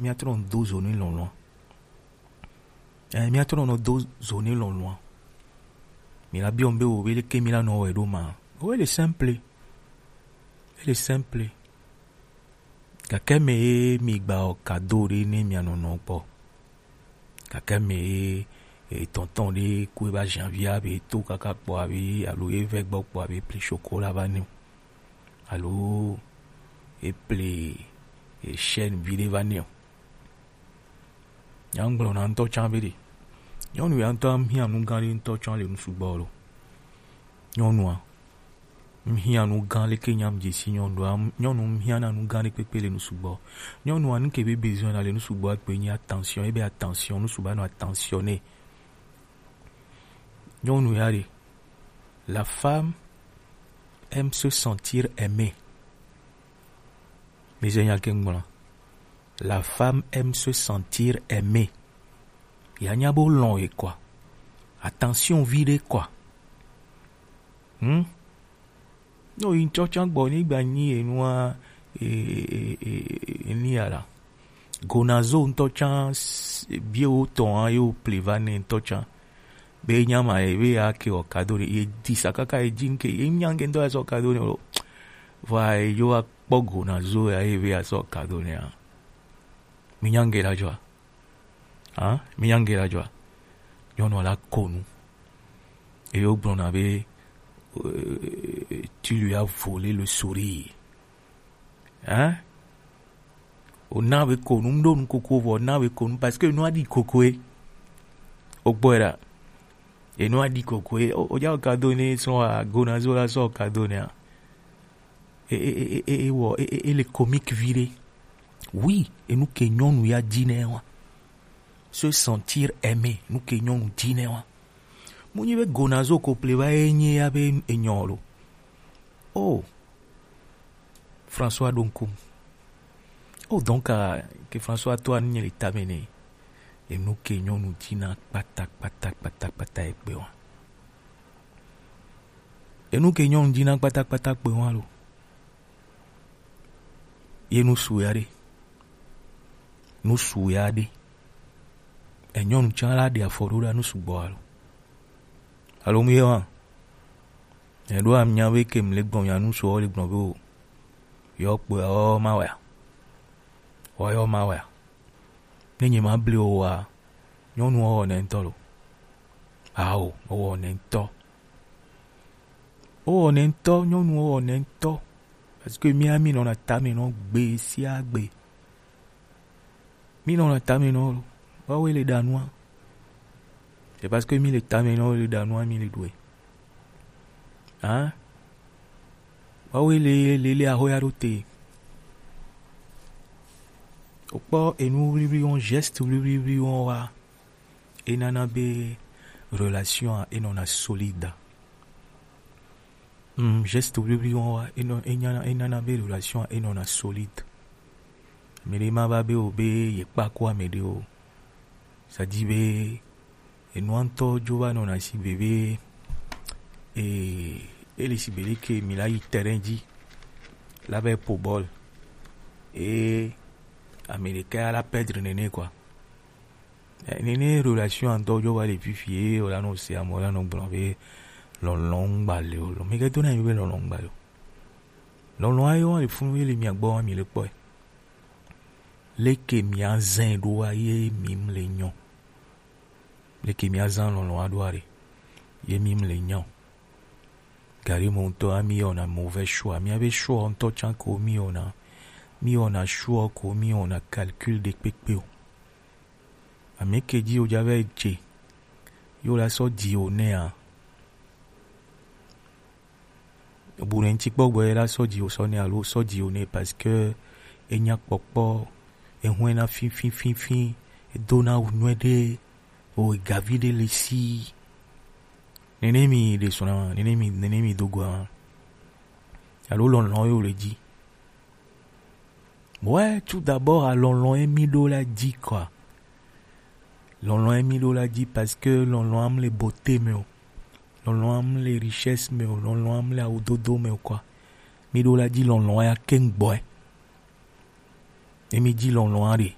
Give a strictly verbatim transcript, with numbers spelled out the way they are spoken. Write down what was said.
Mía trɔ nɔ do zo ne lɔlɔ̃a. Ɛ, mía trɔ nɔ do zo ne lɔlɔ̃a. Mi la biɔ be wo be leke mi la nɔ wɛ ɖo ma. Wo le simple. Ele simple. Gake me ye mi gba o kado ɖe ne mia nɔnɔ kpɔ. Gake me ye e, tɔntɔn ɖe ku e ba janvier be to kaka kpɔ abe alo e vɛ gbɔ kpɔ abe pli chocolat va ne o. Alo e pli e chaîne vi ɖe va ne o. Nya ŋgblɔ na ŋutɔ tsã be ɖe. Nyɔnu ya ŋutɔ hiã nu gã ɖe ŋutɔ tsã le nu sugbɔ lo. Nyɔnua, ŋhiã nu gã leke nyam dzesi nyɔnua, nyɔnu ŋhiã na nu gã ɖe kpekpe le nu sugbɔ. Nyɔnua, nu ke be besoin na le nu sugbɔ akpe nyi attention, ebe attention, nu sugbɔ anɔ attention nɛ. Nyɔnu ya ɖe, la femme aime se sentir aimée. Mi ze nya ke ŋgblɔ. La femme aime se sentir aimée. Ya nya bo lɔn ye quoi. Attention vi ɖe quoi. Hmm? No yi ŋutɔ tsã gbɔ ni gba nyi enua e, e, e, e, eni ya la. Gonazo ŋutɔ tsã s-, biewo tɔn a yo ple va ne ŋutɔ tsã. Be nya ma ye be ya ke o kado ne ye di sa kaka ye dzi ŋke ye nya ŋke ŋutɔ ya sɔ kado ne o. Vɔ ye yo akpɔ gonazo ya ye be ya sɔ kado ne a. Mi nya ŋke la dzɔa? Hein? Mi nya ŋke la dzɔa? Nyɔnua la ko nu. Eye wogblɔna be, euh, tu lui as volé le sourire. Hein? O na be ko nu, ŋɖo nu koko vɔ, o na be ko nu, parce que enua ɖi kokoe. O gbɔe ɖa. Enua ɖi kokoe. O, o dza o kado ne sɔ a, gonazo la sɔ o kado ne a. E, e, e, e, e, wɔ, e, e, e le comique vi ɖe. Oui, enu ke nyɔnu ya di nɛ wa. Se sentir aimé, nu ke nyɔnu di nɛ wa. Mu nyi be gonazo ko ple va ye nyi ya be enyɔ lo. Oh, François Donkum. Oh, donc, euh, ke François to anu nye le tame ne. Enu ke nyɔnu dina kpata, kpata, kpata, kpata ekpe wa. Enu ke nyɔnu dina kpata, kpata kpe wa lo. Ye nu su ya ɖe. Nu su ya ɖe. E nyɔnu tsã la ɖe afɔ ɖo ɖa nu sugbɔ alo. Alo mu ye wa. E ɖo amia be ke mle gbɔn ya nu su o le gbɔn be o. Yɔ kpe o ma wa. O yɔ ma wa. Ne nye ma bli o wa. Nyɔnu o ne ŋutɔ lo. Ao, o ne ŋutɔ. O ne ŋutɔ, nyɔnu o ne ŋutɔ. Parce que mia mi nɔna tame nɔ gbe sia gbe. Mi nɔna tame nɔ lo. Wawe le ɖa nua. C'est parce que mi le tame nɔ le ɖa nua mi le ɖue. Hein? Wawe le, le, le ahoya ɖo te. O kpɔ enu wliwli wɔn, geste wliwli wɔn wa. E nana be relation a e nɔna solide. Mm, geste wliwli wɔn wa, e nɔ, e nyana, e nana be relation a e nɔna solide. Ame ɖe ma va be o be ye kpa ko ame ɖe o. Ça dit be enua ŋutɔ dzo va nɔna si be be, e, e le si be ɖe ke mi la yi terrain dzi la va po bɔl. E ame ɖeka ya la perdre nene quoi. Eh, nene relation ŋutɔ dzo va le fifi ye o la nɔ se ame o la nɔ gblɔ be lɔlɔ̃ ŋgba le o. Lɔ, mi ke to na mi be lɔlɔ̃ ŋgba le o. Lɔlɔ̃ ayo le funu ye le mia gbɔ mi le kpɔe. Leke mia zɛn ɖo wa ye mi mle nyɔ. Leke mia zan lɔlɔ̃ aɖo aɖe. Ye mi mle nyɔ. Gari mo ŋutɔ a mi wɔna mauvais choix. Mia be choix ŋutɔ tsã ko mi wɔna. Mi wɔna choix ko mi wɔna calcul ɖe kpekpe o. Ame ke dzi o dza vɛ dze. Yo la sɔ dzi o nɛa. Bu ne ŋuti kpɔ gbɔ ye la sɔ dzi o sɔ nɛ alo sɔ dzi o nɛ parce que enya kpɔkpɔ, ehwɛ na finfinfinfin, edo na wu nyuie ɖe, o gavi ɖe le si. Nene mi ɖe sɔna, nene mi, nene mi do gɔa. Alo lɔlɔ̃ yo le dzi. Ouais, tout d'abord, à lɔlɔ̃ ye mi ɖo la dzi quoi. Lɔlɔ̃ ye mi ɖo la dzi parce que lɔlɔ̃ am le beauté me o. Lɔlɔ̃ am le richesse me o. Lɔlɔ̃ am le awudodo me o quoi. Mi ɖo la dzi lɔlɔ̃ ya ke ŋgbɔe. Ye mi dzi lɔlɔ̃ a ɖe.